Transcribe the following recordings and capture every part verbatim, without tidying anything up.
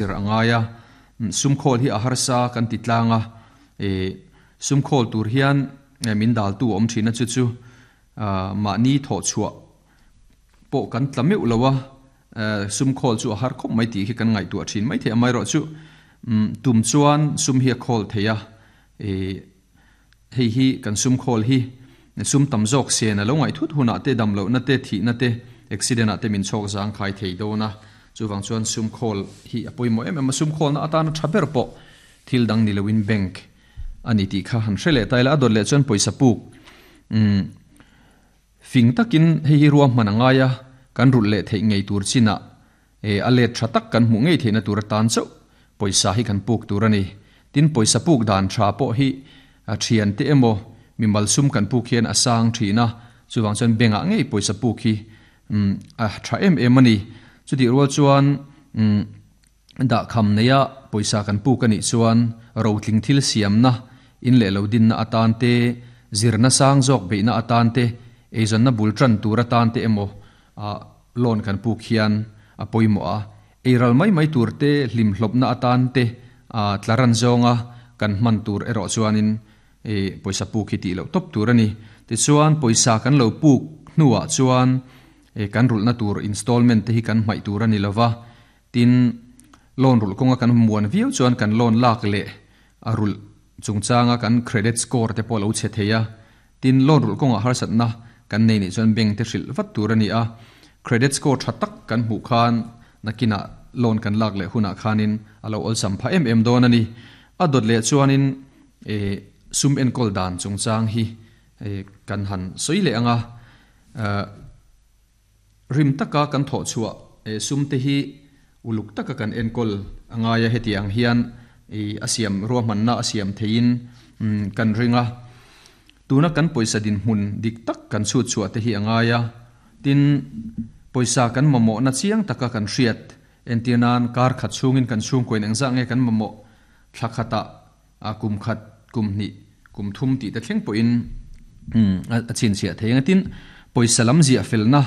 Zir a ngai a, sum khawl hi a harsa kan ti tlang a, sum khawl tur hian min daltu a awm thin a, chu chu mahni thawh chhuah pawh kan tla meuh lo a, sum khawl chu a har khawp mai tih khi kan ngaihtuah thin mai thei a, amaherawhchu tum chuan sum hi a khawl thei a, hei hi kan sum khawl hi sum tam zawk sen a lo ngaih thut hunah te dam lohna te thihna te accident ah te min chhawk zang khai thei dawn a, chuvang chuan sum khawl hi a pawimawh em em a, sum khawlna atana tha ber pawh thil dang ni loin bank a ni tih kha han hre leh ta ila, a dawt leh chuan pawisa puk umm fing takin hei hi ruahman a ngai a, kan rulh leh theih ngei tur chinah a let tha tak kan hmuh ngei theihna tur atan chauh pawisa hi kan puk tur a ni. Tin, pawisa puk dan tha pawh hi a thiante emaw mimal sum kan puk hian a sang thin a, chuvang chuan bank ah ngei pawisa puk hi a tha em em a ni. Chutih rual chuan dahkham neia pawisa kan puk a nih chuan rotling thil siamna, in leh lo dinna atan te, zirna sang zawk beihna atan te, eizawnna bul tan tur atan te emaw loan kan puk hian a pawimawh a. Eiral mai mai tur te, hlimhlawpna atan te, tlaran zawnga kan hman tur erawh chuanin pawisa puk hi tih loh tawp tur a ni. Tichuan pawisa kan lo puk hnuah chuan kan rulhna tur installment te hi kan hmaih tur a ni lova, tin loan rulh kawnga kan muan viau chuan kan loan lak leh a rulh chungchanga kan credit score te pawh a lo chhe thei a, tin loan rulh kawngah harsatna kan nei nih chuan bank te hrilh vat tur a ni a, credit score tha tak kan hmuh khan nakinah loan kan lak leh hunah khanin a lo awlsam phah em em dawn a ni. A dawt leh chuanin sum enkawl dan chungchang hi kan han sawi leh ang a, rim taka kan thawh chhuah sum te hi uluk taka kan enkawl a ngai a, heti ang hian a siam ruahmanna a siam theiin kan ring a, tuna kan pawisa dinhmun dik tak kan chhut chhuah te hi a ngai a, tin pawisa kan mamawhna chiang taka kan hriat entir nan kar khat chhungin kan chhungkawiin engzah nge kan mamawh thla khatah kum khat kum hnih kum thum tih te thleng pawhin a chhinchhiah thei ang a, tin pawisa lam ziah felna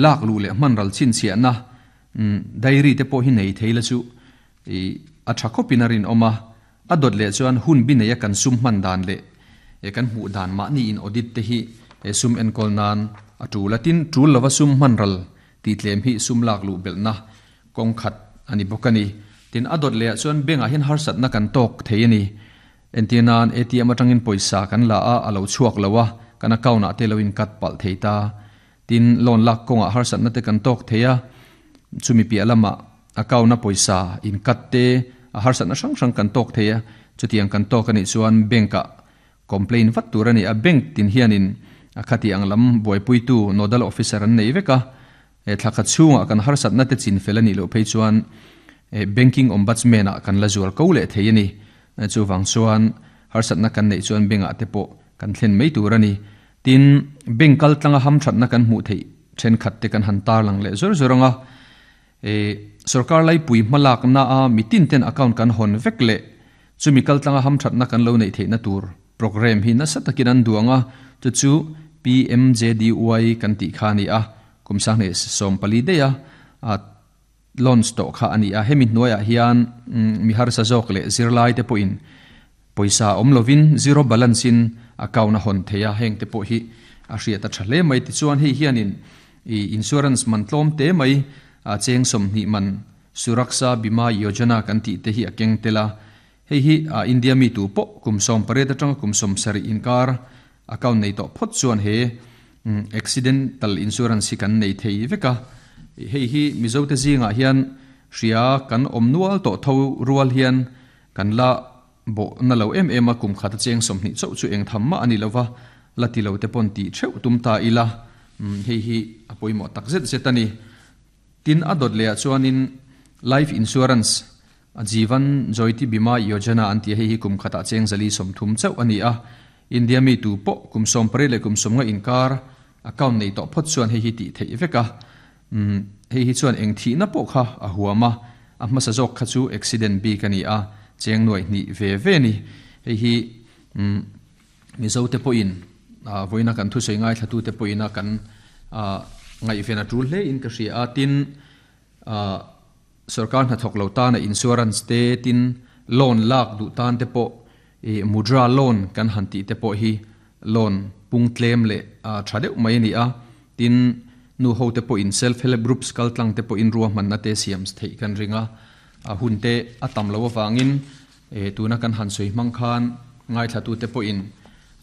lak luh leh hman ral chhinchhiahna diary te pawh hi nei thei la chu a tha khawpin a rinawm a, a dawt leh chuan hun bi neia kan sum hman dan leh kan hmuh dan mahni in audit te hi sum enkawl nan a tul a, tin tul lova sum hman ral tih tlem hi sum lak luh belhna kawng khat a ni bawk a ni. Tin a dawt leh ah chuan bank ah hian harsatna kan tawk thei a ni. Entir nan A T M atangin pawisa kan la a, a lo chhuak lo a, kan account ah te lo in cut palh thei ta. Tin loan lak kawngah harsatna te kan tawk thei a, chumi piah lamah account a pawisa in cut te a harsatna hrang hrang kan tawk thei a, chutiang kan tawk a nih chuan bank ah complain vat tur a ni a, bank tin hianin a khati ang lam buaipuitu nodal officer an nei vek a, thla khat chhungah kan harsatna te chin fel a nih loh phei chuan banking ombudsman ah kan la zual ko leh thei a ni. Chuvang chuan harsatna kan neih chuan bank ah te pawh kan thlen mai tur a ni. Tin bank kal tlanga hamthatna kan hmuh theih thenkhat te kan han tar lang leh zawr zawr ang a, sorkar laipui hmalakna a mitin ten account kan hawn vek leh chumi kal tlanga hamthatna kan lo neih theihna tur program hi nasa takin an duang a, chu chu P M J D Y kan tih kha a ni a, kum sanghnih sawm pali daih a launch tawh kha a ni a, hemi hnuaiah hian mi harsa zawk leh zirlai te pawhin pawisa awm lovin zero balance in account a hawn thei a, heng te pawh hi a hriat a tha hle mai. Tichuan hei hianin insurance man tlawm te mai cheng sawmhnih man Suraksha Bima Yojana kan tih te hi a keng tel a, hei hi India mi tu pawh kum sawm pariat atanga kum sawm sarih inkar account nei tawh phawt chuan he accidental insurance hi kan nei thei vek a, hei hi Mizo te zingah hian hria kan awm nual tawh tho rual hian kan la bawh na lo em em a, kum khat a cheng sawmhnih chauh chu eng tham mah a ni lova, la ti lo te pawn tih theuh tum ta ila, hei hi a pawimawh tak zet zet a ni. Tin a dawt lehah chuanin life insurance Jeevan Jyoti Bima Yojana an tih a, hei hi kum khatah cheng zali sawmthum chauh a ni a, India mi tu pawh kum sawm pariat leh kum sawm nga inkar account nei tawh phawt chuan hei hi tih theih vek a, hei hi chuan eng thihna pawh kha a huam a, a hmasa zawk kha chu accident bik a ni a, cheng nuaih hnih ve ve a ni. Hei hi Mizo te pawhin vawiina kan thusawi ngaithlatu te pawhina kan ngaihven a tul hle in ka hria a, tin Sarkar na thok lo ta na insurance te tin loan lak du tan te po e mudra loan kan han ti te po hi loan pung tlem le a thadeu mai ni a tin nu ho te po in self help groups kal tlang te po in ruwa man na te siam thei kan ringa a hun te atam lo wangin e tuna kan han soi mang khan ngai thla tu te po in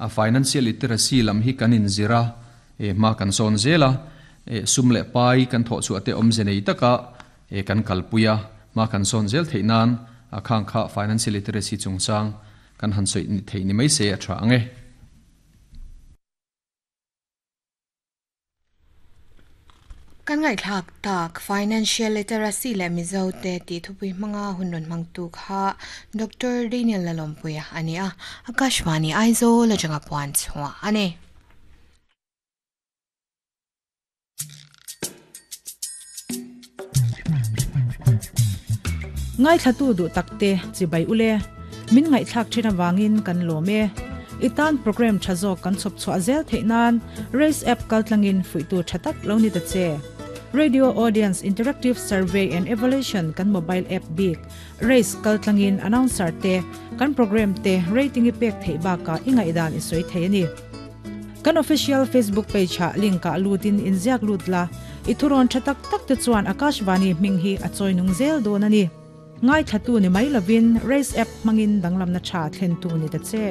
a financial literacy lam hi kan in zira e ma kan son zela e sum le pai kan tho chu ate om zenei taka e kan kalpuya ma kan son zel theinan a khang kha financial literacy chungchang kan han soi ni thei ni mai se a tha ange. Kan ngai thak tak financial literacy le mizo te ti thupui manga hunron mangtu kha Doctor Daniel Lalompuia ania Akashvani Aizawl la puan chwa ane. Ngai thatu du takte chibai ule min ngai thak thina wangin kan lome itan program thazo kan chop chwa zel theinan race app kaltlangin fuitu thatak loni ta che. Radio Audience Interactive Survey and Evaluation kan mobile app big race kaltlangin announcer te kan program te rating ipek thei ba ka inga idan isoi theini kan official Facebook page ha link ka lutin inziak lutla ithuron thatak tak te chuan Akashvani minghi achoi nung zel donani ngai thatu ni mai lovin race app mangin danglam na cha thlen tu ni ta che.